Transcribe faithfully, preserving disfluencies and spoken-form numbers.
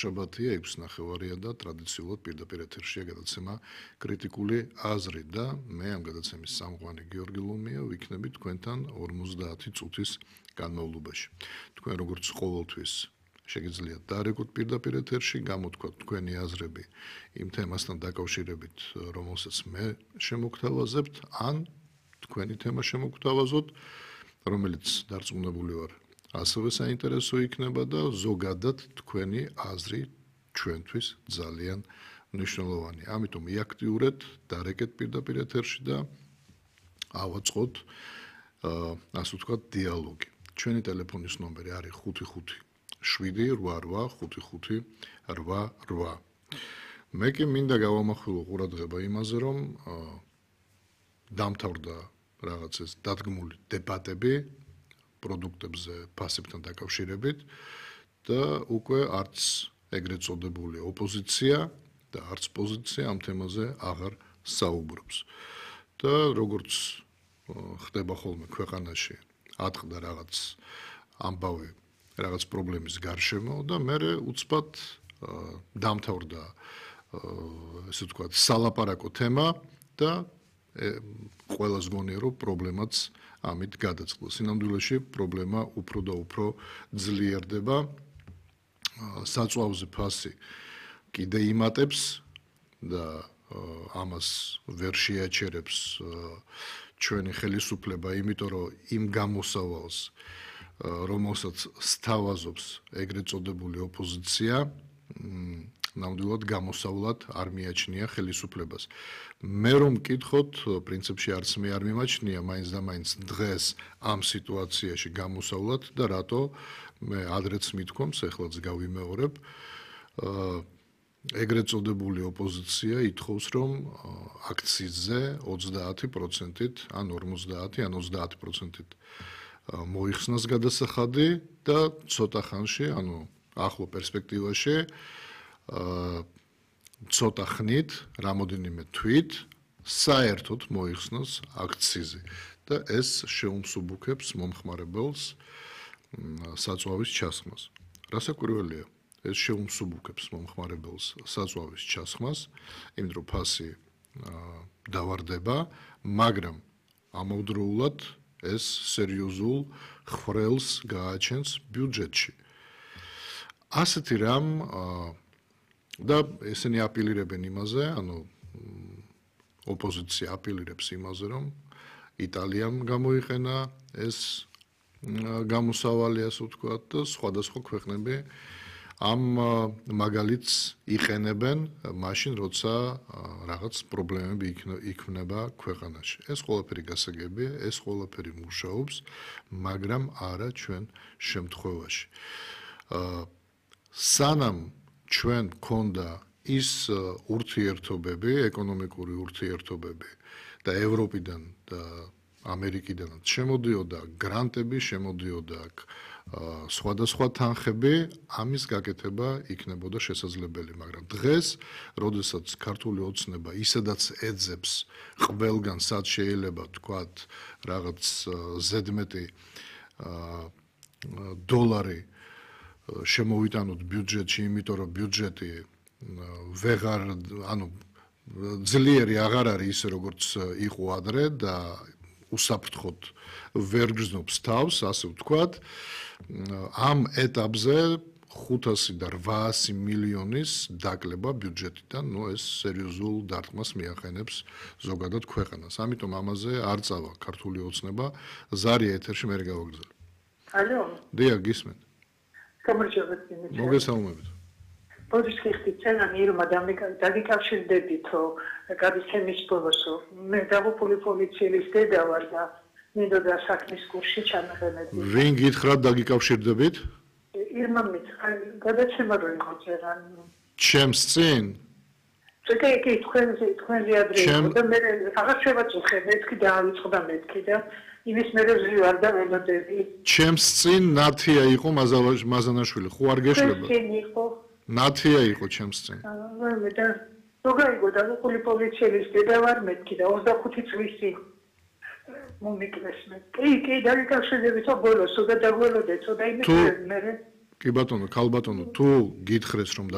შაბათია ექვსი ნახევარია და ტრადიციულად პირდაპირ ეთერშია გადაცემა კრიტიკული აზრი და მე ამ გადაცემის სამღვანი გიორგი ლომია ვიქნები თქვენთან ორმოცდაათი წუთის განმავლობაში. თქვენ როგორც ყოველთვის შეგიძლიათ დარეკოთ პირდაპირ ეთერში, გამოთქვათ თქვენი აზრები იმ თემასთან დაკავშირებით, რომელსაც მე შემოგთავაზებთ, ან თქვენი თემა შემოგთავაზოთ, რომელიც დარწმუნებული ვარ ასევე საინტერესო იქნება და ზოგადად თქვენი აზრი ჩვენთვის ძალიან მნიშვნელოვანია. ამიტომ იაქტიურეთ, დარეკეთ პირდაპირ ეთერში და ავაწყოთ ასე ვთქვათ დიალოგი. ჩვენი ტელეფონის ნომერი არის ხუთი ხუთი შვიდი რვა რვა ხუთი ხუთი რვა რვა. მე კი მინდა გავამახვილო ყურადღება იმაზე, რომ დამთავრდა რაღაც ეს დადგმული დებატები პროდუქტებზე ფასებთან დაკავშირებით და უკვე არც ეგრეთ წოდებული ოპოზიცია და არც პოზიცია ამ თემაზე აღარ საუბრობს. და როგორც ხდება ხოლმე ქვეყანაში, ატყდა რაღაც ამბავი, რაღაც პრობლემის გარშემო და მე უცბად დამთავრდა ესე ვთქვათ სალაპარაკო თემა და ყველას გონია რომ პრობლემაც ამით გადაწყდა. სინამდვილეში პრობლემა უფრო და უფრო ძლიერდება. საწვავზე ფასი კიდე იმატებს და ამას ვერ შეაჩერებს ჩვენი ხელისუფლება, იმიტომ რომ იმ გამოსავალს, რომელსაც სთავაზობს ეგრეთ წოდებული ოპოზიცია, ნამდვილად გამოსავლად არ მიაჩნია ხელისუფლებას. მე რომ მკითხოთ, პრინციპში არც მე არ მიმაჩნია მაინც და მაინც დღეს ამ სიტუაციაში გამოსავლად და რატო მე ადრეც მithქვამს, ეხლაც გავიმეორებ, ეგრეთ წოდებული ოპოზიცია ითხოვს, რომ აქციზზე ოცდაათი პროცენტით, ან ორმოცდაათი, ან ოცდაათი პროცენტით მოიხსნას გადასახადი და ცოტა ხანში, ანუ ახლო პერსპექტივაში ცოტა ხნით, რამოდენიმე თვით საერთოდ მოიხსნას აქციზი და ეს შეუმსუბუქებს მომხმარებელს საწვავის ჩასხმას. რასაკვირველია, ეს შეუმსუბუქებს მომხმარებელს საწვავის ჩასხმას, იმიტომ რომ ფასი დავარდება, მაგრამ ამავდროულად ეს სერიოზულ ხვრელს გააჩენს ბიუჯეტში. ასეთი რამ და ესენი აპილირებენ იმაზე, ანუ ოპოზიცია აპილირებს იმაზე, რომ იტალიამ გამოიყენა ეს გამოსავალი, ასე ვთქვათ, და სხვადასხვა ქვეყნები ამ მაგალითს იყენებენ მაშინ, როცა რაღაც პრობლემები იქმნება ქვეყანაში. ეს ყველაფერი გასაგებია, ეს ყველაფერი მუშაობს, მაგრამ არა ჩვენ შემთხვევაში. სანამ ჩვენ გქონდა ის ურთიერთობები, ეკონომიკური ურთიერთობები და ევროპიდან და ამერიკიდანაც შემოდიოდა გრანტები, შემოდიოდა სხვადასხვა თანხები, ამის გაკეთება იქნებოდა შესაძლებელი, მაგრამ დღეს, როდესაც ქართული ოცნება ისედაც ეძებს ყველგან, სად შეიძლება თქვათ რაღაც ზედმეტი დოლარი შემოვიტანოთ ბიუჯეტში, იმიტომ რომ ბიუჯეტი ვეღარ, ანუ ძლიერი აღარ არის ისე როგორც იყო ადრე და უსაფრთხოდ ვერ გრძნობს თავს, ასე ვთქვათ. ამ ეტაპზე ხუთასი და რვაასი მილიონის დაკლება ბიუჯეტიდან, ნუ ეს სერიოზულ დარტყმას მიახენებს ზოგადად ქვეყანას. ამიტომ ამაზე არ წავა ქართული ოცნება. ზარია ეთერში, მე გავაგრძელებ. ალო? დიახ, გისმენთ. გამარჯობათ, მინდა. მოგესალმებით. პოზიციის ხიცხენა ირმა დაგიკავშირდებით, რომ გადაცემის ბოლოს მე დაღუპული პოლიციელის დედა ვარ და მინდოდა საქმის კურსში ჩამეყენები. ვინ გითხრათ დაგიკავშირდებით? ირმა მითხრა, გადაცემა რო იყო წერა. ჩემს წინ? წეკე კი თქვენზე თქვენზე ადრე და მე აღარ შევაწუხე, მეთქი დაავიწყდა მეთქი და იმის მერე ვარ და ველოდები. ჩემს წინ ნათია იყო მაზანაშვილი, ხო არ გეშლება? ჩემს წინ იყო. ნათია იყო ჩემს წინ. აა მე და როგორ დაღუპული პოლიციელის დედა ვარ მეთქი და ოცდახუთი წლისი მომიკლეს მე. კი, კი, დაგიკავშირდებით ბოლოს, და დაგველოდეთ, და იმის მერე კი ბატონო, ქალბატონო, თუ გითხრეს რომ